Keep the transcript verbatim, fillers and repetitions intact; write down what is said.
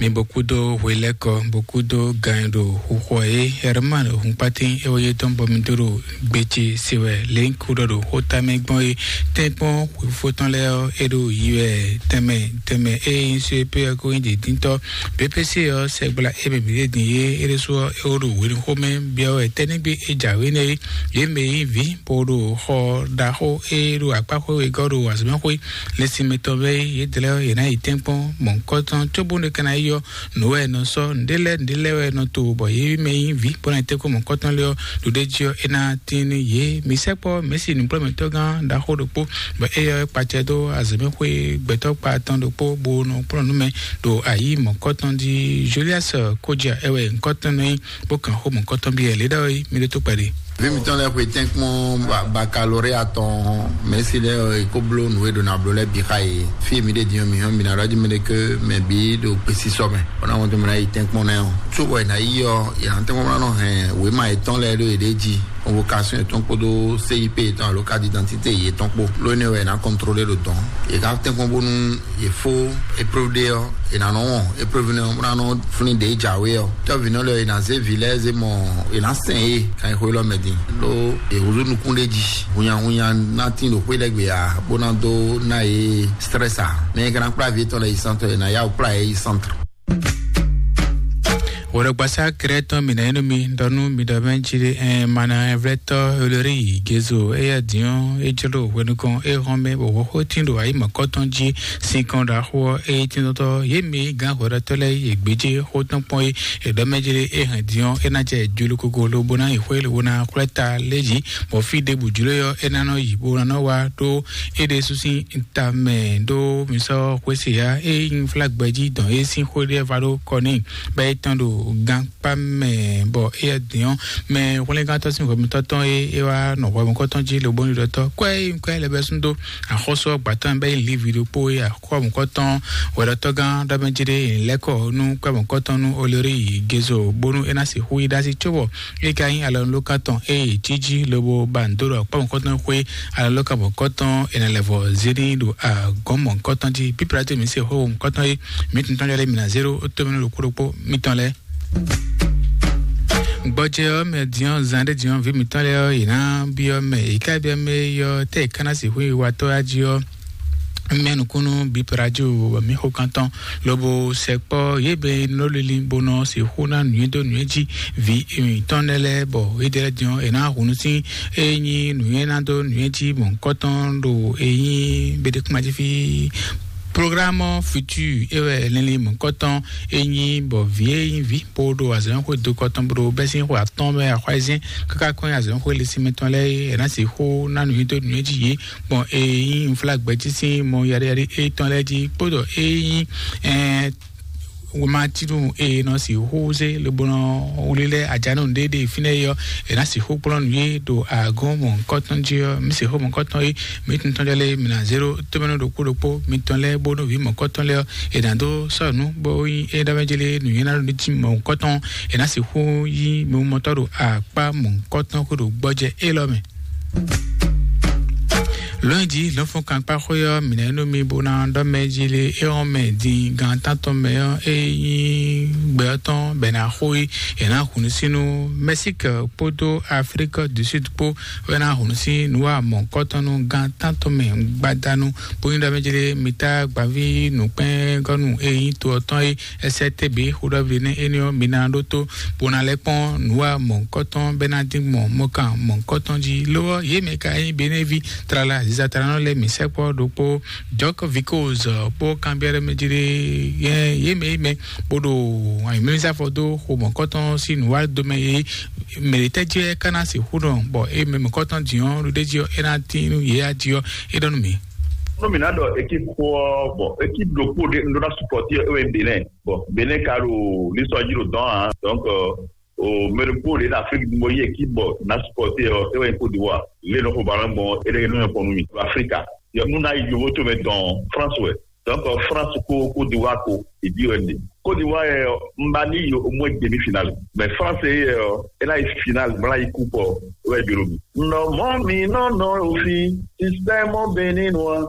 Mi bó kúdó hwelɛ́kɔ, bó kúdó gan e ɖo xuxɔ é, Herman Hunkpatin é wɔ yé tɔn bɔ mi dó ɖo gbéjé se wɛ lě ń kú ɖɔ ɖo xóta mɛ gbɔn é. Tɛ́nkpɔ́n xwefó tɔn lɛ́ɛ ɔ́, é ɖo yi wɛ tɛnmɛ tɛnmɛ é nyí só é pé ɔ́ kó nyí dǐndíntɔ́. B P C ɔ́, sɛgbla é mɛ mǐ ɖe din é, é ɖésú ɔ́, é wó ɖo hwenu xomɛ byɔ́ wɛ tɛ́ nígbé é jǎwe nɛ́ é. Yě mɛ nyí vǐ bó ɖo xɔ ɖaxó é ɖo akpáxwé wegɔ́ ɖo azɔ̌mɛxwé. Lɛ́sinmɛ tɔn lɛ́ɛ yědɛɛ lɛ́ɛ yě ná yi tɛ́nkpɔ́n mɔ̌hunkɔtɔn, cóbónú é ka ná yi ɔ́, nǔ wɛ è nɔ sɔ́, nǔɖé lɛ́ɛ nǔɖé lɛ́ɛ wɛ è nɔ to, bɔ yě mɛ nyí vǐ bó ná yi tɛ́nkpɔ́n mɔ̌hunkɔtɔn lɛ́ɛ ɔ́, ɖo ɖ'é jí ɔ́, é ná tín nú yě. Mi sɛkpɔ́ Mɛ̌si nǔkplɔ́nmɛtɔ́gán ɖaxó ɖokpó, bɔ éyɛ́ ɔ́, é kpacɛ dó azɔ̌mɛxwé gbɛtɔ́ kpa tɔn ɖokpó, bó nɔ kplɔ́n nǔ mɛ ɖo ayǐ mɔ̌hunkɔtɔn jí. Julius Kodja é wɛ nyǐkɔ tɔn nɔ nyí, bó kan xó mɔ̌hunkɔtɔn byɔ́ yě. Lě ɖɔ é, mi ɖó tó kpɛɖé. Vǐ mitɔn lɛ́ɛ xwe tɛ́nkpɔ́n ba- bakalóréa tɔn, Mɛ̌si lɛ́ɛ ɔ́, è ko bló nǔ e ɖo ná bló lɛ́ɛ bǐ xá yě. Fí e mǐ ɖe din ɔ́, mǐ hɔn mǐ ná ɖɔ jí mɛ ɖé ké mɛ bǐ ɖo gbesisɔ mɛ, bɔ ná wɔn tó mɛ ná yi tɛ́nkpɔ́n nɛ́ ɔ́. Cóbɔ è nǎ yi ɔ́, è nǎ tɛ́nkpɔ́n ná nɔ hɛn wěma yětɔn lɛ́ɛ ɖó yě ɖě jí, convocation yětɔn kpódó C I P yětɔn alo carte d'identité yětɔn kpó. Lónìí wɛ è nǎ kɔntrolé ɖo dɔn. È ka tɛ́nkpɔ́n bónú è fó épreuve ɖé ɔ́, è nǎ nɔ wɔn épreuve nɛ́ ɔ́, bó ná nɔ flín ɖě jǎwe ɔ́. Tɔ́vǐnɔ lɛ́ɛ è nǎ zé vǐ lɛ́ɛ zé mɔ, è nǎ sɛn yě kan yi xwé lɔ mɛ din. Ɖó è húzú nukún ɖé jí. Hunnyahunnya ná tín ɖo xwé lɛ́ɛ gbe ǎ, bó ná dó ná yě stress ǎ. Mɛ e ka ná kplá vǐ tɔn lɛ́ɛ yi centre, è nǎ yá wǔ kplá yě yi centre. Wɛɖɔgbasá Krɛtɔn mi nɔ nyi nú mi ɖɔ nú mi ɖɔ mɛ jí ɖe, ɛn mana vlɛtɔ Olori Gezo, eya diɔn e jlo hwenu kɔn e hɔn mɛ bɔ wɔxo tin ɖo ayi mɔkɔtɔn jí sin kɔn ɖo axo ɔ́, e tin tɔtɔ ye mi gán hwɛɖɔtɔ lɛ ye gbéjé xó tɔn kpɔn e e ɖɔ mɛ jí ɖe e hɛn diɔn e ná jɛ jolo kogo lo bó ná yi xwé lo bó ná xwlɛ ta lé jí, bɔ fí ɖěbǔ jlo yɔ e ná nɔ yi bó ná nɔ wá ɖó e ɖe susi ta mɛ ɖó mi sɔ́ xwé se ya e nyí flagbɛ jí dɔn e sín xwé ɖé va ɖó kɔ n'i, bɔ é tɔn ɖo gán kpa mɛ, bɔ éyɛ́ din ɔ́, mɛ hwlɛ́ngántɔ́ sín hwɛmutɔ́ tɔn e é wá nɔ hwɛmukɔ́tɔn jí lobónu ɖɔtɔ́ kwɛ e nyí kwɛ lɛ́ bɛ́ sún dó axɔ́sú ɔ́ gbǎtɔ́ bɛ́ nyí lívi ɖokpó e axɔ́mukɔ́tɔn hwɛɖɔtɔ́gán ɖɔmɛjí ɖé lɛ́kɔ nú kwɛmukɔ́tɔn nú Olori Gezo, bónú é ná sixú yi ɖ'así cóbɔ é ka nyí alɔnulókan tɔn e yě cí jí lobo ba nǔ dó ɖɔ kpɔ́mɔkɔ́tɔn xwé alɔnulókan mɔ̌kɔ́tɔn è nɔ lɛ́ vɔ zé n'i ɖo agɔ̌n mɔ̌kɔ́tɔn jí. Píplató mǐ se xó mɔ̌kɔ́tɔn e mǐ tun tɔn jɔ lé mǐ ná zé ɖó tómɛnú ɖokpó ɖokpó mitɔn lɛ́ɛ. Gbɔjɛ ɔ́ mɛ diɔn zan ɖé diɔn vǐ mǐtɔn lɛ́ɛ ɔ́, yě ná byɔ́ mɛ, yě ká byɔ́ mɛ e yɔ tɛ́ yě ká ná sixú yi watɔ́ yá jí ɔ́, mɛ nukúnnú bí parajo mǐ xo kan tɔn, lobo sɛkpɔ́ yě bɛ nɔ lili bó nɔ sixú ná nǔnywɛ́ dó nǔnywɛ́ jí vǐ mǐtɔn lɛ́ɛ lɛ́ɛ, bɔ yědɛɛ lɛ́ɛ diɔn è nǎ hun nú sín e nyí nǔnywɛ́ ná dó nǔnywɛ́ jí mɔ̌hunkɔtɔn ɖo e nyí Beɖekúmajífí. Programme futur e wɛ linlin mɔ̌hunkɔtɔn e nyí bɔ vǐ e nyí vǐ bó ɖo azɔ̌xwé dokɔ tɔn bó ɖo bɛ́sín xwe atɔ́ɔ́n mɛ axwázɛ́n káká kɔn nyi azɔ̌xwé lɛ́sínmɛ tɔn lɛ́ɛ é, è nǎ sixú ná nǔnywɛ́ dó nǔnywɛ́ jí yě, gbɔn e nyí unflágbɛjí sín mɔ yaɖéyaɖé étɔn lɛ́ɛ jí kpódɔ e nyí ɛɛ wema tínú e nɔ sixú zé lobo nɔ wlí lɛ́ɛ ajánú ɖéɖé fínɛ́ é ɔ́, è nǎ sixú kplɔ́n nǔ yé ɖo agɔ́n mɔ̌hunkɔtɔn jí ɔ́, mǐ sixú mɔ̌hunkɔtɔn é, mǐ tuntɔn jɔ lɛ́ɛ mǐ ná zé ɖó tómɛnú ɖokpó ɖokpó mitɔn lɛ́ɛ bónú vǐ mɔ̌hunkɔtɔn lɛ́ɛ ɔ́, è nǎ dó sɔ́ nǔ bó nyí é ɖɔ mɛ jélé nǔnywɛ́ ná ɖo ní cí mɔ̌hunkɔtɔn, è nǎ sixú yí mimɔtɔ́ ɖo akpá mɔ̌hunkɔtɔn xwé ɖo gbɔjɛ élɔ́ mɛ. Lɔ̌nyijǐ lɔ̌nfɔ́nkankpáxwé ɔ́, mǐ ná nú mi bó ná ɖɔ mɛ jí lé é ɔ́ mɛ din gan tántɔn mɛ ɔ́, é nyí gbɛ ɔ́ tɔn bɔ è nǎ xo yi, è nǎ hun nú sínú Mɛsík kpódó Aflík du Súd kpó wɛ ná hun nú sín nǔ wa mɔ̌hunkɔtɔn nú gan tántɔn mɛ gbadanu, bó nyí ɖɔ mɛ jí lé mi tá gbaví nǔkpɛ́ngɔ́nú e nyí to ɔ́ tɔn é ɛsɛ tɛ́ bǐ xó ɖɔ vǐ nɛ́ énɛ́ ɔ́, mi ná ɖótó bó ná lɛ́ kpɔ́n nǔ wa mɔ̌hunkɔtɔn bɛ́ ná dín gbɔn mɔ̌kan mɔ̌hunkɔtɔn jí. Lo ɔ́, yě mɛ ka nyí Benévi tlala zizatranɔ lɛ́ɛ mǐ sɛkpɔ́ ɖokpó Jɔk Vikoz kpó kanbyɔ́ ɖé mɛ jí ɖé yɛ yě mɛ yí mɛ bó ɖo anyǔmlízafɔ dó xo mɔ̌kɔtɔn sín nǔwádo mɛ é. Mɛ̌ tɛ́ jí wɛ ka ná sixú nɔ bɔ é mɛ mɔ̌kɔtɔn dǐn ɔ́ ɖo ɖ'é jí ɔ́, é ná tín nú yě á jí ɔ́, é ɖɔ nú mǐ. Nú mǐ ná ɖɔ équipe xó ɔ́, bon, équipe ɖokpó ɖé un ɖó ná supporter ɔ́, é wɛ nyí Bénin. Bon, Bénin ka ɖo lisɔ jí ɖo dɔn ǎ. Donc, euh, o mɛ ɖokpó ɖé na Afrique du Nord yi équipe bɔ na supporter ɔ́, é wɛ nyí Côte d'Ivoire. Lé nɔ xo ballon gbɔn, é ɖe nɔ nyɔ́ kpɔn nú mì. Afrika. Yɔ, nú ná yi yovo to mɛ dɔn France wɛ. Donc, euh, France ko Côte d'Ivoire ko, e di wɛ ɖe. Côte d'Ivoire yɛ, ɔ, un ba ni yi au moins demi-finale. Mais France yɛ, ɔ, é ná yi finale, bla yi coupe, ɔ, é wɛ jolo mi. Nɔ mɔ mi nɔ nɔ ofi, système béninois.